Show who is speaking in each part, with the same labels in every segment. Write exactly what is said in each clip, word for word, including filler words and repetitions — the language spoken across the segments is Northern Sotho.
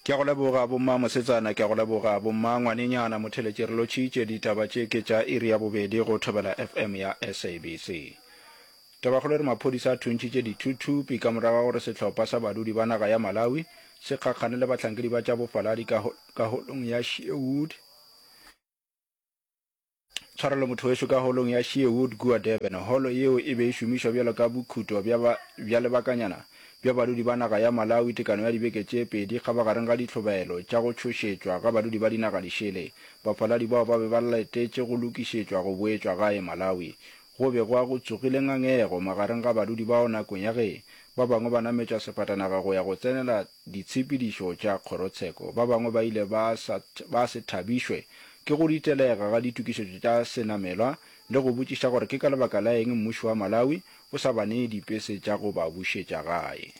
Speaker 1: Ke a go leboga bomma mosetsana, ke a go leboga bomma ngwanenyana. Motheletši re lotšhitše ditaba tše ke tša iri ya bobedi go Thobela F M ya S A B C. Tabakgolo e re maphodisa a thuntšhitše dithuthupi ka morago ga gore sehlopha sa badudi ba naga ya Malawi se kgakgane le bahlankedi ba tša bofaladi ka, ka holong ya Sherwood. Tshwarelo motho wešo ka holong ya Sherwood kua Durban. Holo yeo e be e šomišwa bjalo ka bokhuto bja ba, bja lebakanyana bja badudi ba naga ya Malawi tekano ya dibeke tše pedi kgabagareng ga dihlobaelo tša go tšhošetšwa ga badudi ba dinaga dišele. Bafaladi bao ba be ba letetše go lokišetšwa go boetšwa gae Malawi. Go be gwa go tsogile ngangego magareng ga badudi bao nakong ya ge ba bangwe ba nametšwa sefatanaga go ya go tsenela ditshepedišo tša kgorotsheko. Ba bangwe ba ile ba sa, ba se thabišwe ke go ditelega ga ditokišetšo tša senamelwa le go botšiša gore ke ka lebaka la eng mmušo wa Malawi o sa ba nee dipese tša go ba bušetša gae.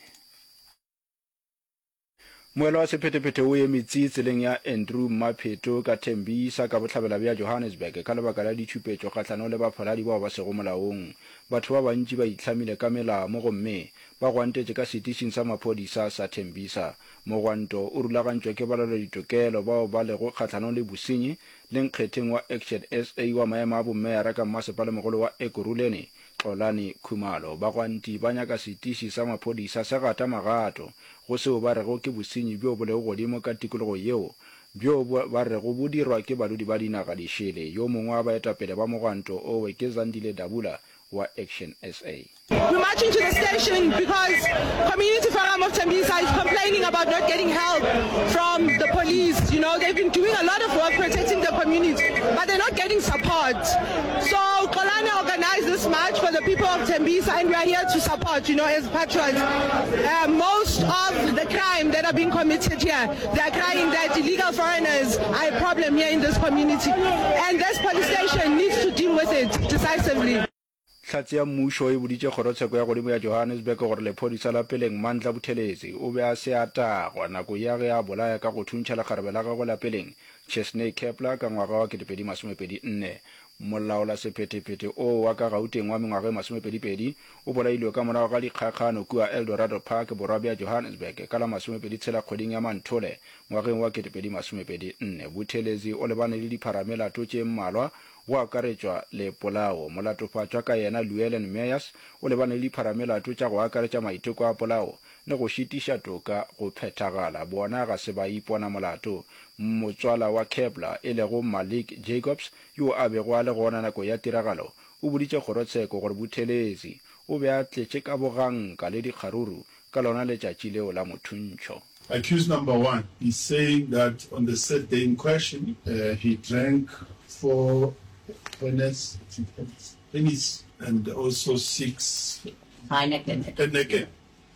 Speaker 1: Moela wa sephethephethe o eme tsi tseleng ya Andrew Mapheto ka Tembisa ka bohlabela bja Johannesburg ka lebaka la ditšhupetšo kgahlanong le bafaladi bao ba sego molaong. Batho ba bantši ba itlhamile ka melamo gomme ba gwantetše ka setišing sa maphodisa sa Tembisa. Mogwanto o rulagantšwe ke balwela-ditokelo bao ba lego kgahlanong le bosenyi le nkgetheng wa Action S A wa maemo a bommeyara ka mmasepalemogolo wa Ekurhuleni, Xolani Khumalo. Bagwanti ba nyaka setiši sa maphodisa se gata magato go seo ba rego ke bosenyi bjo bo lego godimo ka tikologo yeo bjo ba rego bo dirwa ke badudi ba dinaga dišele. Yo mongwe wa baetapele ba mogwanto owe ke Zandile Dabula wa Action S A.
Speaker 2: We're marching to the station because Community Forum of Tembisa is complaining about not getting help from the police. You know, they've been doing a lot of work protecting the community, but they're not getting support. So Xolani organized this march for the people of Tembisa, and we are here to support, you know, as patriots. Uh, most of the crime that are being committed here, they are crying that illegal foreigners are a problem here in this community. And this police station needs to deal with it decisively.
Speaker 1: Hlatse ya mmušo e boditše kgorotsheko ya godimo ya Johannesburg gore lephodisa la peleng Mandla Buthelezi o be a se a tagwa nako ya ge a bolaya ka go thuntšha lekgarebe la gagwe la peleng Chesney Kepler ka ngwaga wa kete pedi masomepedi nne. Molaolasephetephete oo wa ka Gauteng wa mengwaga e masomepedi pedi o bolailwe ka morago ga dikgakgano kua Eldorado Park borwa bja Johannesburg ka la masomepedi tshela kgweding ya Manthole ngwageng wa kete pedi masomepedi nne. Buthelezi o lebane le dipharamelato tše mmalwa go akaretšwa le polao. Molatofatšwa ka yena Llewellyn Meyers o lebane le dipharamelato tša go akaretša maiteko a polao le go šitiša toka go phethagala. Bona ga se ba ipona molato. Motswala wa Kepler e lego Malik Jacobs yo a bego a le gona nako ya tiragalo o boditše kgorotsheko gore Buthelezi o be a tletše ka boganka le dikgaruru ka lona letšatši leo la mothuntšho.
Speaker 3: Accused number one is saying that on the said day in question, uh, he drank four Hennes, Hennies and also six
Speaker 4: Heineken.
Speaker 3: Heineken.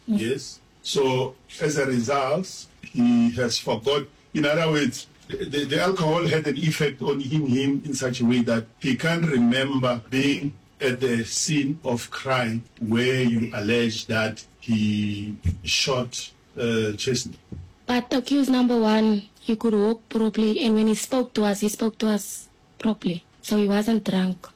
Speaker 3: Yes. So as a result, he has forgot. In other words, the, the alcohol had an effect on him, him in such a way that he can't remember being at the scene of crime where you allege that he shot uh, Chesney.
Speaker 5: But accused number one, he could walk properly, and when he spoke to us, he spoke to us properly. So he wasn't drunk.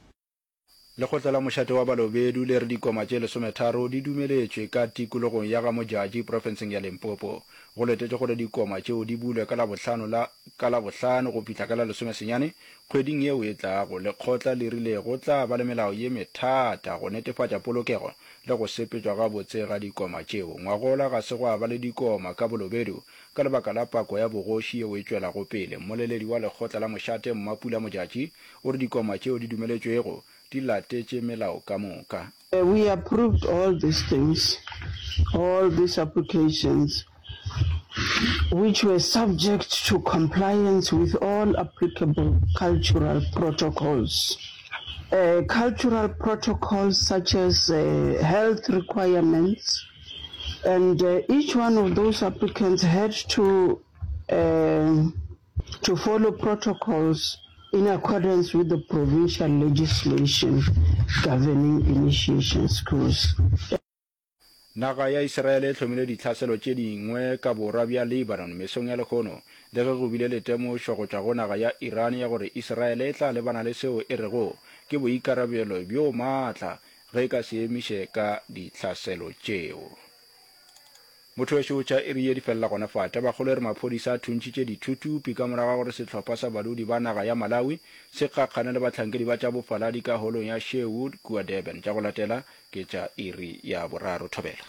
Speaker 1: Lekgotla la mošate wa Balobedu le re dikoma tše lesometharo di dumeletšwe ka tikologong ya ga Modjadji profenseng ya Limpopo. Go letetšwe gore dikoma tšeo di bulwe ka Labohlano la ka Labohlano go fihla ka la lesomesenyane kgweding yeo e tlago. Lekgotla le rile go tla ba le melao ye methata go netefatša polokego le go sepetšwa gabotse ga dikoma tšeo. Ngwagola ga se gwa ba le dikoma ka Bolobedu ka lebaka la pako ya bogoši yeo e tšwelago pele. Mmoleledi wa lekgotla la mošate Mmapula Modjadji o re dikoma tšeo di dumeletšwego di latetše melao ka moka.
Speaker 6: We approved all these things, all these applications, which were subject to compliance with all applicable cultural protocols. Uh, cultural protocols such as uh, health requirements, and uh, each one of those applicants had to uh, to follow protocols in accordance with the provincial legislation governing initiation schools.
Speaker 1: Naga ya Israele e hlomile ditlhaselo tše dingwe ka borwa bja Lebanon mesong ya lehono, le ge go bile le temošo go tšwa go naga ya Iran ya gore Israele e tla lebana le seo e rego ke boikarabelo bjo maatla ge e ka se emiše ka ditlhaselo tšeo. Motho wešo, tša iri ye di felela gona fa. Tabakgolo e re maphodisa a thuntšhitše dithuthupi ka morago ga gore sehlopha sa badudi ba naga ya Malawi se kgakgane le bahlankedi ba tša bofaladi ka holong ya Sherwood kua Durban. Tša go latela ke tša iri ya boraro. Thobela.